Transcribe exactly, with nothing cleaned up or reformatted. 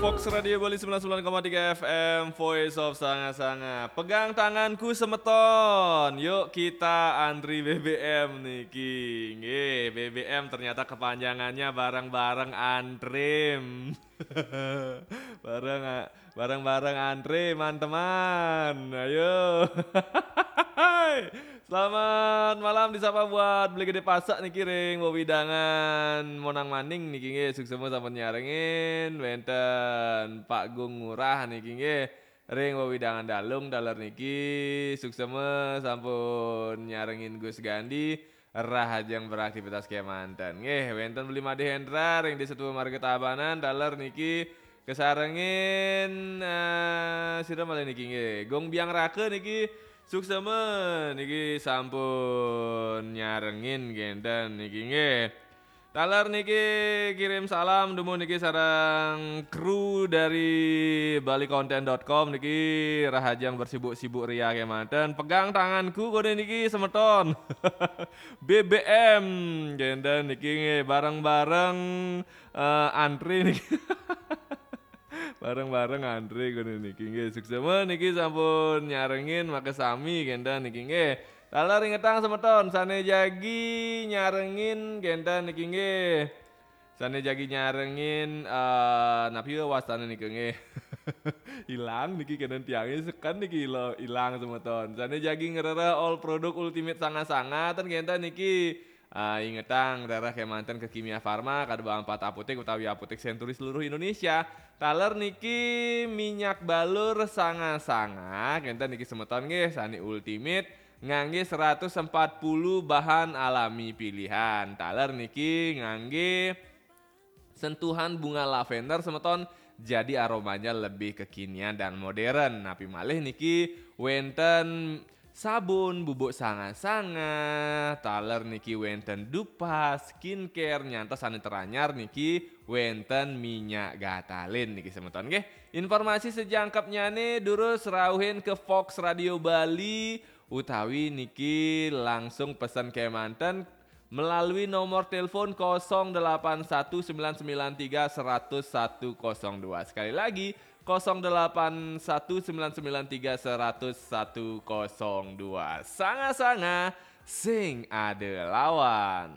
Fox Radio Bali sembilan sembilan koma tiga F M, Voice of Sanga-Sanga. Pegang tanganku semeton. Yuk kita antri B B M niki. Nggih, B B M ternyata kepanjangannya bareng-bareng antrim. Bareng, bareng-bareng antri, teman-teman. Ayo. Selamat malam disapa buat Beli Gede Pasak niki ring wewidangan Monang Maning niki nggih, suksema sampun nyarengin, wenten Pak Gung Ngurah niki nggih ring wewidangan Dalung taler niki, suksema sampun nyarengin Gus Gandhi, rahajeng beraktivitas kemanten. Nggih, wenten Beli Made Hendra ring Desa Tua Marga Tabanan taler niki, kesarengin, eh, sira malih niki nggih. Gung Biang Raka niki suksema niki sampun nyarengin kenten niki nggih. Taler niki kirim salam dumun niki sareng kru dari balikonten dot com niki, rahajeng bersibuk-sibuk ria kemanten. Pegang tanganku kode niki semeton. B B M kenten niki nggih, bareng-bareng, eh, antri niki. Bareng-bareng antri kode niki nggih. Suksema niki sampun nyarengin makasami kenten niki nggih. Taler ingetang semeton sane jagi nyarengin kenten niki nggih. Sane jagi nyarengin, eh, napi wastane niki nggih. Ilang niki kenten tiange seken niki ilo-, ilang semeton. Sane jagi ngrereh all produk Ultimate Sanga-Sanga ten kenten niki. Ah, ingetang, rereh kemanten ke Kimia Farma, kada empat apotek utawi apotek Century seluruh Indonesia. Taler niki minyak balur Sanga-Sanga, kenten niki semeton nggih, sane Ultimate, ngangge seratus empat puluh bahan alami pilihan. Taler niki ngangge sentuhan bunga lavender semeton, jadi aromanya lebih kekinian dan modern. Napi malih niki wenten sabun bubuk Sanga-Sanga, taler niki wenten dupa, skincare, nyantos sane teranyar niki wenten minyak gatalin niki semeton nggih. Informasi sejangkepnyane durus rauhin ke Fox Radio Bali utawi niki langsung pesen kemanten melalui nomor telepon kosong delapan satu sembilan sembilan tiga seratus satu kosong dua. Sekali lagi, kosong delapan satu sembilan sembilan tiga seratus satu kosong dua. Sanga-Sanga, sing ada lawan.